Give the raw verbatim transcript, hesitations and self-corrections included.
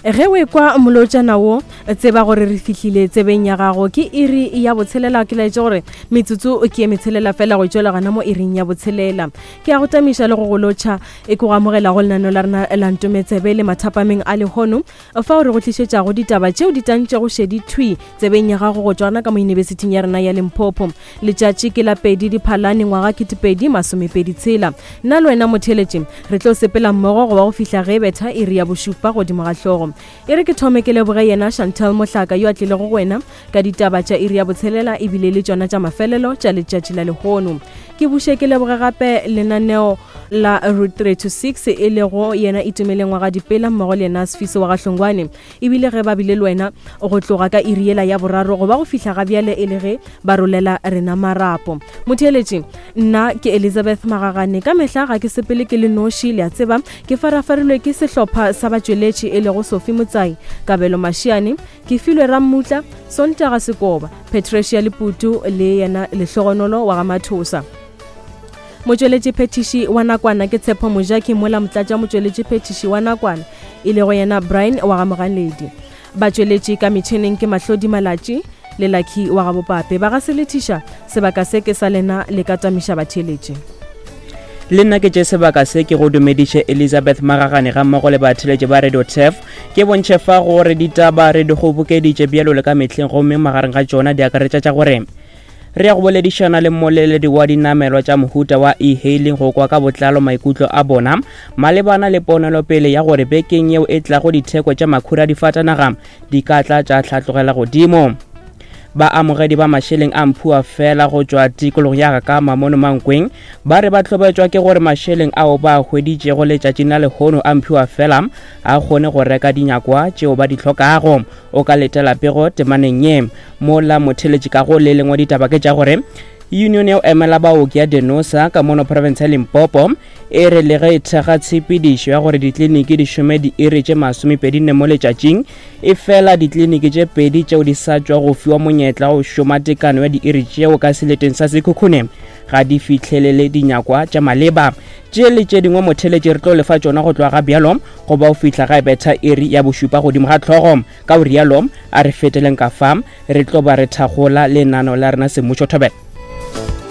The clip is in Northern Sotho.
Ge o ekwa molotšana wo, tseba gore re fihlile tsebeng ya gago. Ke iri ya botshelela, ke laetše gore metsotso ke ye metshelela fela go tšwela gona mo iring ya botshelela. Ke a go tamiša le go go lotšha, e ke go amogela go lenaneo la rena la Ntometsebe le mathapameng a lehono, fao re go tlišetšago ditaba tšeo di tantšego šedi thwi tsebeng ya gago go tšwa gona ka mo yunibesithing ya rena ya Limpopo. Letšatši ke la pedi Diphalane ngwaga ketepedi masomepedi tshela. Nna le wena motheeletši re tlo sepela mmogo go ba go fihla ge betha iri ya bošupa godimo ga hlogo. E re ke thome ke leboge yena Chantel Mohlaka yo a tlilego go wena ka ditaba tša iri ya botshelela ebile le tšona tša mafelelo tša letšatši la lehono. Ke buše ke leboge gape lenaneo la Route three to six e lego yena Itumeleng wa ga Dipela mmogo le yena Sfiso wa ga Hlongwane, ebile ge ba bile le wena go tloga ka iri yela ya boraro go ba go fihla ga bjale e le ge ba rolela rena marapo. Motheeletši, nna ke Elizabeth Magagane. Ka mehla ga ke sepele ke le noši, le a tseba, ke farafarilwe ke sehlopha sa batšweletši e lego Sophie Motsai, Kabelo Mashiane, ke filwe Rammutla, Sontaga Sekoba, Patricia Leputu le yena Lehlogonolo wa ga Mathosa. Motšweletši phethiši wa nakwana ke Tshepo Mojaki, mola motlatša motšweletši phethiši wa nakwana e lego yena Brian wa ga Moganedi. Batšweletši ka metšhineng ke Mahlodi Malatši le Lucky wa ga Bopape. Ba ga selethiša sebaka se ke sa lena le ka tamiša batheeletši. Le nna ke tše sebaka se ke go dumediše Elizabeth Magagane ga mmogo le batheeletši ba Radio T E F. Ke bontšhe fa gore ditaba re di kgobokeditše bjalo le ka mehleng, gomme magareng ga tšona di akaretša tša gore re ya go boledišana le mmoleledi wa dinamelwa tša mohuta wa e-hailing go kwa ka botlalo maikutlo a bona malebana le ponelopele ya gore bekeng yeo e tlago ditheko tša makhura a difatanaga di ka tla tša hlatlogela godimo. Baamogedi ba mašeleng a mphua fela go tšwa tikologong ya Gakama mono Mankweng ba re ba hlobetšwa ke gore mašeleng ao ba a hweditšego letšatšing la lehono a mphua fela a kgone go reka dinyakwa tšeo ba di hlokago. O ka letela pego temaneng ye. Mola motheeletši ka go le lengwe ditaba ke tša gore Union ya go emela baoki ya Denosa ka mono province ya Limpopo e re le ge e thekga tshepedišo ya gore ditleliniki di šome diiri tše masomepedi nne mo letšatšing, e fela ditleliniki tše pedi tšeo di sa tšwa go fiwa monyetla go šoma tekano ya diiri tšeo ka seleteng sa Sekhukhune ga di fihlelele dinyakwa tša maleba. Tše le tše dingwe motheeletši re tlo lefa tšona go tloga ga bjalo go ba go fihla ga e betha iri ya bošupa godimo ga hlogo. Ka go rialo a re feteleng ka fa re tlo ba re thagola lenano la rena semmušo thobela.